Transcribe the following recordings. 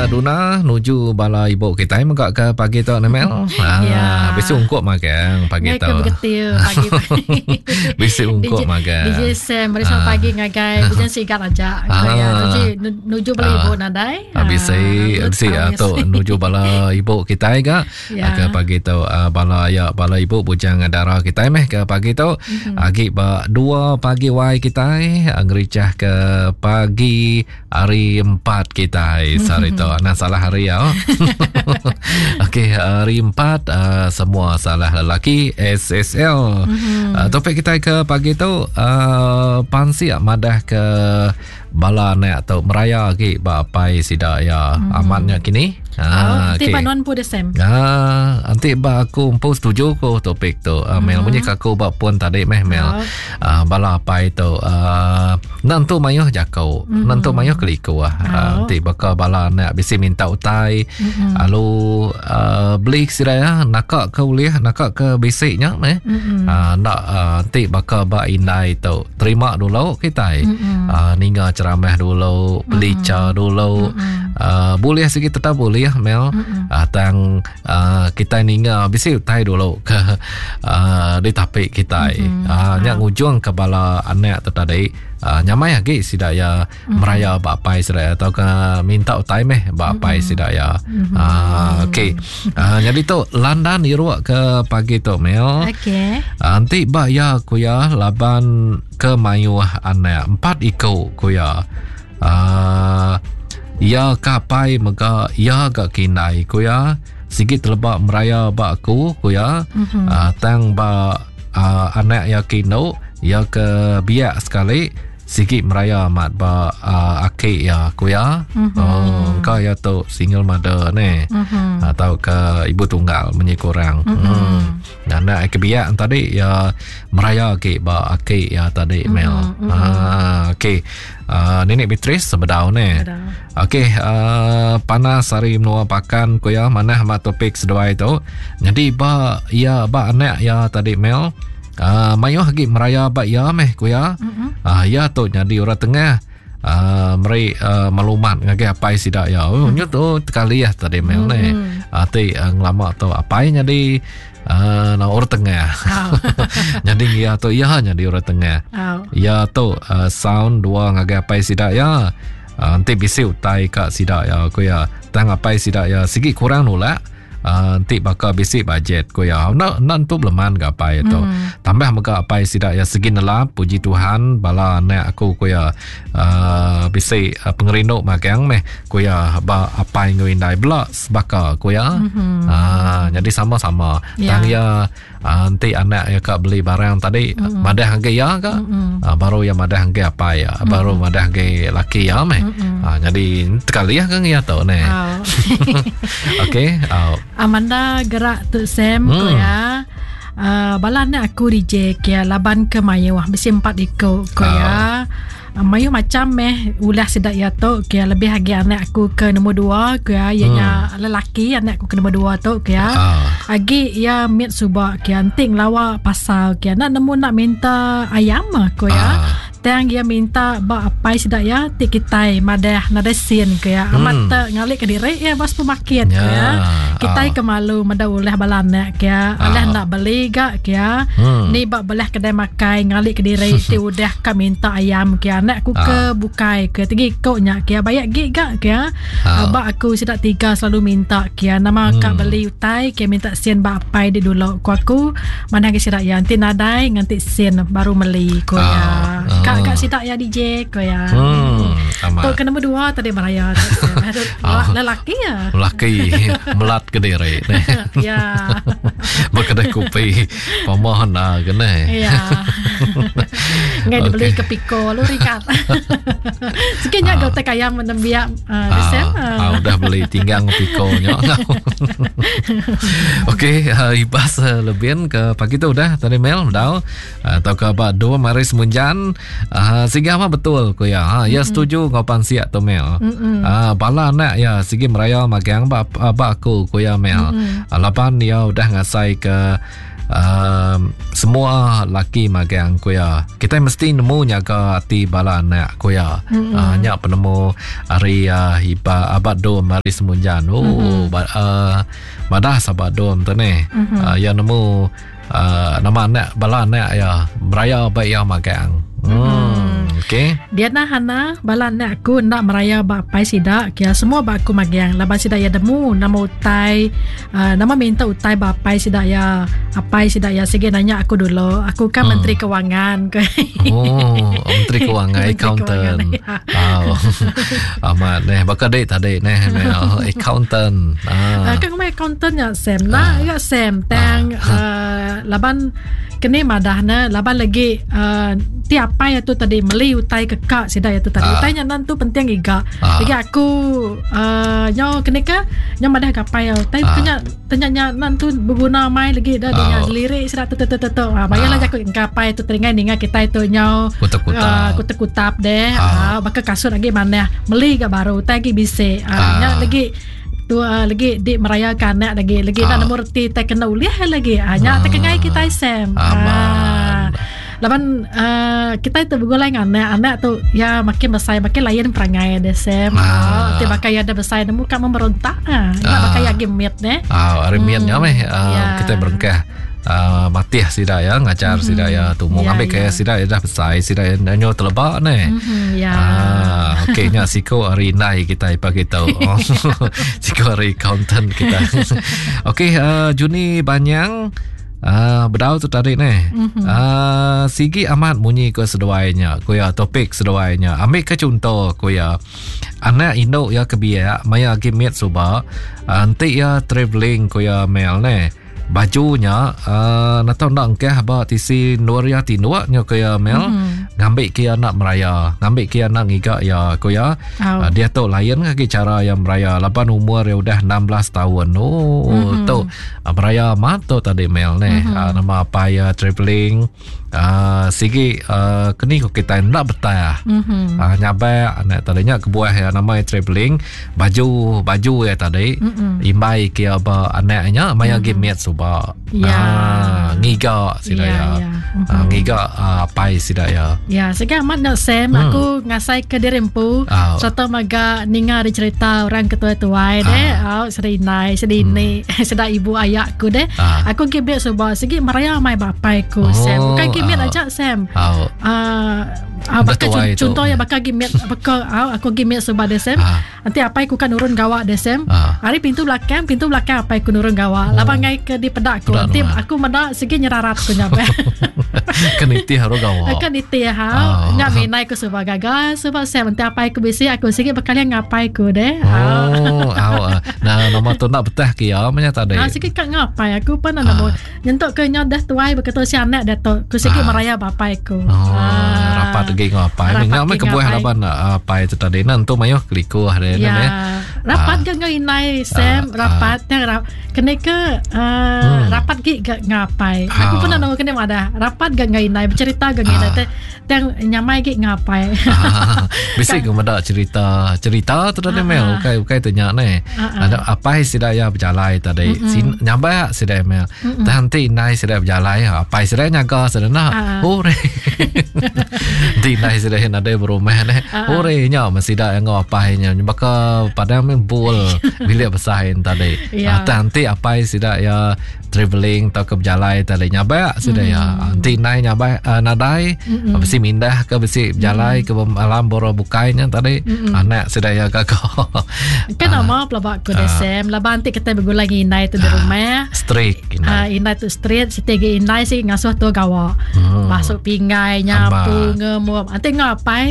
Duna nuju bala ibu kita mega ke pagi tu Nemel. Ha ya. bisi ungkup magang pagi tu. Pagi Bisi ungkup magang. DJ Sam beri selamat pagi ngagai Bujang Sigat aja. Ah. Ya, nuju nuju bala ibu nadai. Ah, bisi bisi tu nuju bala ibu kita ga. Ya. Ke pagi tu uh, bala ya bala ibu bujang dara kitai meh ke pagi tu mm-hmm. agi ba 2 pagi wai kitai ah, ngericah ke pagi hari 4 kitai mm-hmm. sehari tu anang salah hari ya. Okey hari 4 uh, ah, semua salah lelaki SSL. Mm-hmm. Uh, topik kitai ke pagi tu uh, pansik madah ke Bala anak tu meraya agi ba apai sida iya. Hmm. Amat nya kini. Ha, oh, enti okay. ba nuan empu Sam. Ha, enti ba aku empu setuju ko topik tu. Uh, Mel hmm. munyi ka aku ba pun tadi meh Mel. Oh. Uh, bala apai tu uh, nentu mayuh jako, hmm. nentu mayuh keliku ah. Uh, oh. enti baka bala anak bisi minta utai, hmm. lalu uh, beli sida ya naka ke ulih, naka ke bisi nya meh. Hmm. Uh, ndak uh, enti baka ba indai tu terima dulu kitai mm-hmm. uh, ninga ceramah dulu pelicha mm-hmm. dulu mm-hmm. Uh, boleh sikit tetap boleh mel mm-hmm. uh, tang uh, kitai ninga bisi utai dulu ke uh, ditapik kitai mm-hmm. uh, nya ngujung ke bala anak tu tadi uh, nyamai agi sida ya mm-hmm. meraya ba apai sida ya atau ke minta utai meh ba apai mm-hmm. sida ya. Mm-hmm. Uh, okey. Uh, jadi tu landan iruk ke pagi tu Mel. Okey. Uh, enti ba ya ku ya laban ke mayuh anak empat iku ku ya. Uh, ya ke apai mega ya ga kindai ku ya. Sigi teleba meraya ba aku ku ya. Mm-hmm. Uh, tang ba uh, anak ya ke indu ya ke biak sekali Sigi meraya amat ba uh, aki iya ku iya. Mm-hmm. Oh, engka iya tu single mother ne. Mm-hmm. Atau ke ibu tunggal munyi ku orang. Mm-hmm. Hmm. Anak ke biak tadi iya meraya agi ba aki iya tadi mm-hmm. Mel. Mm-hmm. Ah, okey. Uh, Nenek Beatrice sebedau ne. Okey, uh, panas hari menua Pakan ku iya manah amat topik seduai tu. Jadi ba iya ba anak iya tadi Mel. Uh, mayuh agi meraya ba iya meh ku iya. Mm-hmm. Uh, iya tu nyadi orang tengah uh, meri uh, maklumat ngagai apai sida iya. Oh mm-hmm. tu tekali ah tadi mel mm-hmm. ne. Uh, ti uh, ngelama tu apai nyadi uh, orang tengah. Oh. nyadi iya tu iya nyadi orang tengah. Oh. Iya tu uh, sound dua ngagai apai sida iya. Uh, enti bisi utai ka sida iya ku iya. Tang apai sida iya sigi kurang nulak. Uh, enti baka bisi bajet ku iya enda enda entu beleman ga apai tu mm. tambah mega apai sida iya segi nelap puji Tuhan bala anak aku ku iya uh, bisi uh, pengerindu magang meh ku iya ba apai enggau indai bela sebaka ku iya mm-hmm. uh, jadi sama-sama yeah. tang iya Uh, enti anak iya ka beli barang tadi mm-hmm. madah agi iya ka mm-hmm. uh, baru iya madah agi apai iya mm-hmm. baru madah agi laki iya meh mm-hmm. uh, jadi tekali iya kan iya tu ne oh. okey oh. Amanda gerak tu Sam mm. ko ya Uh, bala anak aku DJ kia laban ke mayuh bisi empat iku ko ya. Mayuh macam meh ulah sida iya tu ke lebih agi anak aku ke nombor dua ke iya nya hmm. lelaki anak aku ke nombor dua tu ke ah. agi iya mit suba ke enti ngelawa pasal ke nak nemu nak minta ayam ko ya ah. Tang iya minta ba apai sida iya ti kitai madah nadai sin ke ya amat hmm. te ngalik ke diri iya ba supermarket ke ya kitai ah. ke malu meda ulah bala anak ke ya alah nak beli ga ke ya hmm. ni ba belah kedai makai ngalik ke diri ti udah ka minta ayam ke anak aku ke ah. bukai ke tegi ko nya ke bayak gi ga ke ah. ba aku sida tiga selalu minta ke nama hmm. ka beli utai ke minta sen ba apai di dulu ku aku mana ke sida ya enti nadai nganti sen baru meli ko ya ah. ka ka sida ya DJ ko ya hmm. tu ke nombor dua tadi beraya lelaki ya lelaki melat ke diri ya Bekedai kopi Pamah na kena. Ya. Ngai okay. dibeli ke piko lu rikat. Sikit nya ah. tek ayam menembiak uh, ah, ah, udah beli tinggang piko nya. Okey, uh, ibas uh, lebih ke pagi tu udah tadi mail dah. Uh, atau ke ba dua mari semunjan uh, sehingga apa betul ku ya. Ha, ya setuju ngau pansiak tu mail. Uh, bala anak ya sigi meraya magang ba, ba aku ku ya mail. Uh, laban ya udah ngasai ke. Uh, semua laki magang ku iya. Kitai mesti nemu nyaga ati bala anak ku iya. Mm-hmm. Uh, nya penemu ari uh, Iba Abad Dom ari Semunjan. Oh, mm-hmm. ba, uh, madah sahabat Dom tu ni. Mm-hmm. Uh, iya nemu uh, nama anak bala anak iya beraya ba iya magang. Hmm. Mm. Okey. Diana Hana, bala anak aku enda meraya ba apai sida, kia semua ba aku magang laban sida iya nemu nama utai uh, nama minta utai ba apai sida iya. Apai sida iya sigi nanya aku dulu. Aku kan hmm. menteri kewangan. oh, menteri kewangan, accountant. Oh. Amat neh baka dik tadi neh accountant. Ah. Kan ngumbai accountant nya Sam. Nah, ya Sam tang ah. uh, laban keni madah ne laban lagi uh, ti apai tu tadi meli utai ke ka sida ya tu tadi. Ah. Utai nya nan tu penting iga. Ah. Lagi aku uh, nyo keni ke nyo madah ke apai utai ah. nya tanya nya nan tu beguna mai lagi dah dia oh. lirik sida tu tu tu tu. Ah, bayarlah ah. jaku ke apai tu teringai ninga kitai tu nyo kutap-kutap. Uh, kutap-kutap deh. Ah. Uh, baka kasut lagi manah meli ga baru utai lagi bisi. Uh, ah. Nya lagi tu uh, lagi di meraya ke anak lagi lagi ah. nak nemu reti tai kena ulih lagi ah nya ah. tekengai kitai Sam. Ah. Laban uh, kita tu begulai dengan anak anak tu ya makin besar makin lain perangai dia Sam. Ah. Ti bakal ya ada besar nemu ka memberontak ah. Ah. Bakal ya gemit ne. Ah, hari mm. nya meh uh, yeah. kita berengkah uh, matih sida ya ngajar mm-hmm. sida ya tumu yeah, ngambil yeah. ke sida ya dah besar sida ya nyo telebak ne. Mm-hmm, yeah. Ah, okey nya siko hari indai kita pagi tu. siko hari accountant kita. okey uh, Juni Banyang Uh, bedau tu tadi ni. Mm-hmm. Uh, sigi amat munyi ke seduai nya. Ku ya topik seduai nya. Ambil ke contoh ku ya. Anak indu ya ke biak maya agi mit suba. Uh, enti ya travelling ku ya Mel ni. Baju nya uh, natau enda engkah ba tisi endur iya tinduk nya ku iya Mel. Mm-hmm. Ngambi ke iya anak meraya, ngambi ke iya anak ngiga iya ku iya. Oh. Uh, dia tu lain lagi cara iya meraya laban umur iya udah 16 tahun. Oh mm-hmm. tu uh, meraya amat tu tadi Mel ni. Mm-hmm. Uh, nama apai iya travelling. Uh, sigi uh, keni ko kitai enda betah. Mm-hmm. Uh, nyabak anak tadi nya kebuah ya nama ya travelling baju baju ya tadi mm-hmm. imbai ke ba anak nya maya mm-hmm. mit suba. Ya. Uh, ngiga sida ya. Ya. ya. Mm-hmm. Uh, ngiga uh, apai sida ya. Ya, sigi amat nak Sam mm. aku ngasai ke diri empu oh. serta maga ninga ari cerita orang ke tuai-tuai deh. Oh, sida indai, sida ini, mm. sida ibu ayak ku deh. Ah. Aku gibit suba sigi meraya mai bapai ku oh, Sam. Bukan gibit ah. aja Sam. Oh. Uh, uh, baka contoh ya baka gimit baka uh, aku gimit suba deh Sam. Ah. Nanti apai ku kan nurun gawa deh Sam. Ah. Hari pintu belakang, pintu belakang apai ku nurun gawa. Oh. Laban ngai ke di pedak ku. Nanti aku meda sigi nyerarat ku nyabe. Kan nitih haru gawa. Kan nitih ha. Oh. Nya minai ku suba gaga suba Sam. Nanti apai ku bisi aku sigi bekali ngapai ku deh. Oh, oh. Nah, nama tu nak betah ke ya menya tadi. Ah, sikit kat ngapai aku pun nak ah. nyentuk ke nya dah tuai beketu si anak dah tu. Ku sikit Ah. meraya bapai ku. Oh, Ah. rapat lagi ngapai. Rapat Ngak meh lagi kebuah ngapai. laban apai tu tadi. Nah, entu mayuh kelikuh dia Ya. ne. Rapat Ah. ke ngau inai Sam, Ah, rapat yang rap, kena ke uh, rapat gi ke ngapai. Aku Ah. pun nak kena madah. Rapat ke ngau inai bercerita ke ngau inai Ah. teh tang nyamai gi ngapai. Ah, Bisi ke meda cerita cerita tu tadi Mel ukai ukai tu nya ne. Ah, Ada apai sida ya berjalai tadi. Sin nyabak sida Mel. Tah nanti indai sida berjalai, apai sida nyaga sida nak. Ah. Hore. Nanti indai sida nadai berumah ne. Ah. Hore nya mesti sida ngau apai nya baka padang main bol bilik besar tadi. Ya. Ah, tah nanti apai sida ya travelling atau ke berjalai tadi nyabak sida ya. Nanti indai nyabak uh, nadai besi mindah ke besi berjalai ke alam boro bukainya tadi anak sida ya gagah. Kan nama pelabak ku deh Sam. Laban nanti kita bergulai dengan inai tu di rumah. Strict Ah, indai. inai tu street setiap inai sih ngasuh tu gawa. Masuk pinggai, nyapu, ngemup. Nanti ngapai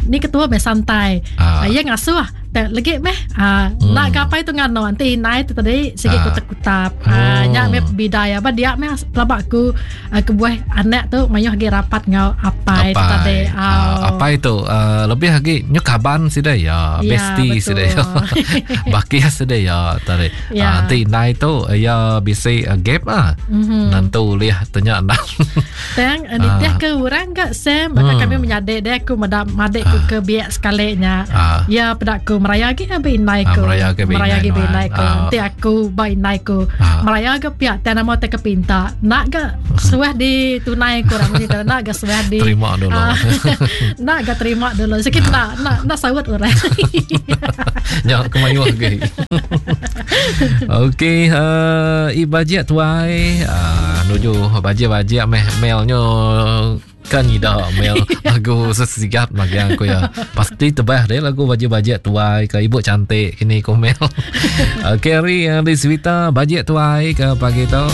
ni ketua meh santai. Ah. Ah. Ya ngasuh. Tak lagi meh. Ah, nak gapai tu ngano nanti inai tu tadi segi Ah. kutap-kutap. Ah, Oh. nya meh bidaya apa dia meh pelabak ku ah, kebuah anak tu mayuh lagi rapat ngau apai tu tadi. Ah, apai tu uh, lebih lagi nyu kaban sida ya, Ya, bestie betul. sida ya. Bakia sida ya tadi. Ya. Ah, nanti indai tu ya bisi uh, gap ah. Mhm. Nantu liah tanya nak. Tang nitih ke orang gak Sam Bahkan kami menyadik dia aku meda madik ku ke biak sekali nya. Ah. Ya peda ku Meraya agi ba indai ku. Meraya agi ba indai ba indai ku. Enti aku ba indai ku. Meraya ga pia tang nama tai ke pinta. Enda ga suah di tunai ku orang munyi tu. Enda ga suah di terima dulu. Enda ga terima dulu. Sikit enda enda enda saut orang. Nya ke mayuh agi. Okey, uh, i bajik tuai uh, nuju bajik-bajik meh mail nyo kan ida mail lagu sesigap magang ku ya. Pasti tebah deh lagu bajik-bajik tuai ke ibu cantik kini ku mail. Okey hari uh, di Swita bajik tuai ke pagi tu.